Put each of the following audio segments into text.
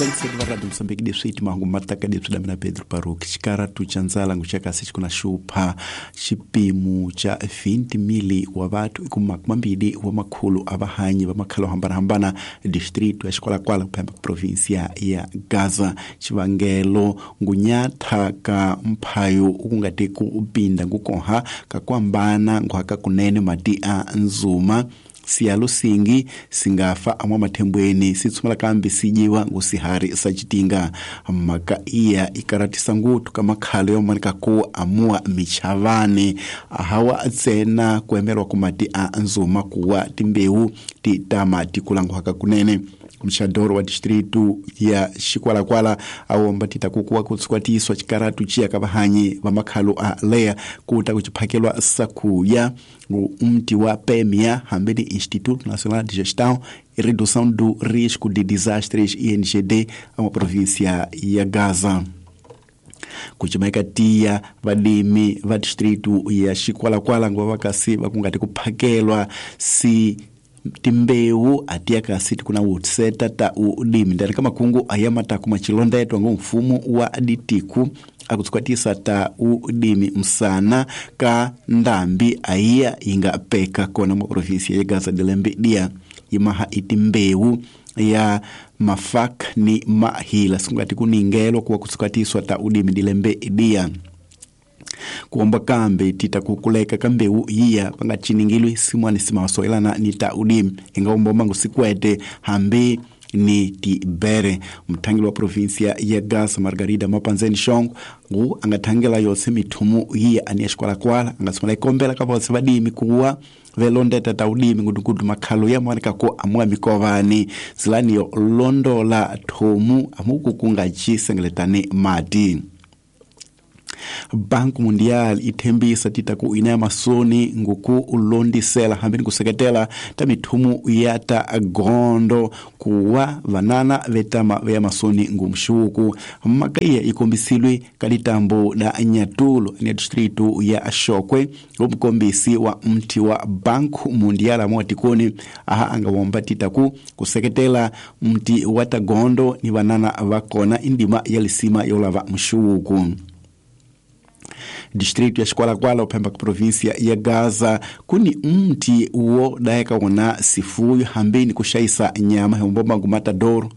Vaingiseri va Radio Mosambiki, leswi timahungu mataka leswi lamina Pedro Baruch. Xikaratu xa ndzala nguxakasi xi kuna xupha xipimo xa 20,000 wa vathu i ku makumambili wa makhulu a vahanyi va makhalo hambanahambana distrito ya Xikwalakwala kuphemba provinsia ya Gaza. Xivangelo ngunyatha ka mphayo ku nga te ku pinda ngukoha ka kuhambana nguhaka kunene mati a nzuma siyalo singi singafa amwa mathembweni si tshumela kambe si dyiwa ngusihari sa citinga. Mhaka iya ikaratisa nguthu ka makhalo yo manika ku amua michavani ahawa ntsena ku emelwa ku mati a nzuma kuwa timbewu ti tama ti kula nguhaka kunene. Mxadoro wa distrito ya Xikwalakwala awomba tita kukuwa kutsukwatiswa xikaratu ciya ka vahanyi va makhalo a leya ku ta ku xiphakelwa sakuya umti wa PMA hambi ni Instituto Nacional de Gestão e Redução do Risco de Desastres INGD a uma província ya Gaza. Kucimeka tiya vadimi va distrito ya Xikwalakwala nguva vakasi va ku nga ti ku phakelwa si timbewu atiya kasi tikuna wutseta ta ulimi ndani ka makungu aya mataku machilondetwa ngo mfumo wa ditiku akutsukatisa ta ulimi msana ka ndambi aiya inga peka kona mwa provinsia ya Gaza de Lembe dia imaha itimbewu ya mafak ni mahila sungati kuningelo kuwa kutsukatiswa ta ulimi dilembe dia kuomba kambe tita kukuleka kambeu iya pangaciningilwe simwani simasoelana ni ta ulimi ingaomba mangu sikwete hambi ni tibere. Mthangeli wa provinsia ya Gaza Margarida Mapanzeni Shongo ngu angathangela yose mithumu iya ani ya Xikwalakwala angasumela ikombela ka vose vadimi kuwa velondeta ta ulimi ngudugudu makhalo ya mwanika ku amua mikovani zilani yo londola thomu amuku kungacisengeletane mati. Banco Mundial ithembisa tita ku ina masoni nguku ulondisela hambini kuseketela ta mithumu ya ta gondo kuwa vanana vetama veya masoni ngumshuku. Mhaka iya ikombisilwe ka litambo la Nyatulo ni distrito ya Shokwe umukombisi wa mti wa Banco Mundial amotikoni aha angawomba tita ku kuseketela mti wa tagondo ni vanana vakona indima ya lisima yolava mshuku. Distrito ya Xikwalakwala uphemba província ya Gaza kuni mti wo daeka wona sifuyo hambini kuxayisa nyama hiumbomba ngumatadoro.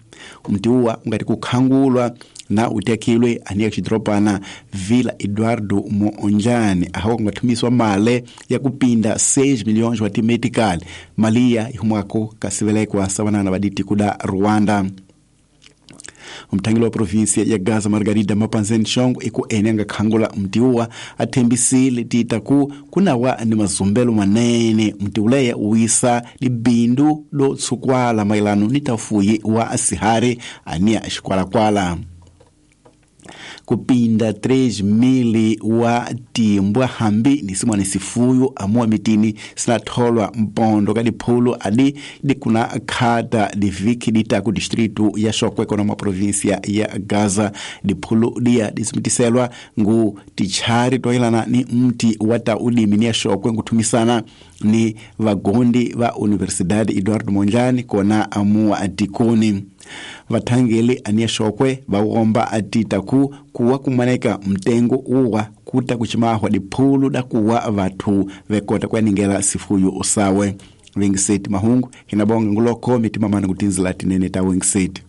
Mti uwa ungati kukhangulwa na utekilwe aniya xidropana Vila Eduardo Moonjani ahawa kungathumiswa male ya kupinda 6 milhões wa timetical malia ihumwako kasivelekwa savanana vaditi kuda Rwanda. Mthangeli wa provinsia ya Gaza Margarida Mapanzeni Shongo iku ene angakhangula mtiuwa athembisile tita ku kunawa ni mazumbelo manene mti uleya uwisa libindu lo tsukwala mailano ni tafuyi wa sihari ania Xikwalakwala. Kupinda 3,000 wa timbwa hambi ni simwani sifuyo amua mitini sinatholwa mpondo ka diphulu adi dikuna khata diviki dita ku distrito ya Shokwe kona mwa provinsia ya Gaza. Diphulu dia disimitiselwa ngu tichari toyelana ni mti wa ta ulimi ni ya Shokwe nguthumisana ni vagondi va Universidade Eduardo Mondlane kona amua atikoni. Vathangeli aniya Shokwe vawomba atita ku kuwa kumaneka mtengo uwa kuta kuchimahwa diphulu da kuwa vathu vekota kuyaningela sifuyo usawe. Wengiseti mahungu hinabonga nguloko mitima mana kutinzila tinene ta Wengiseti.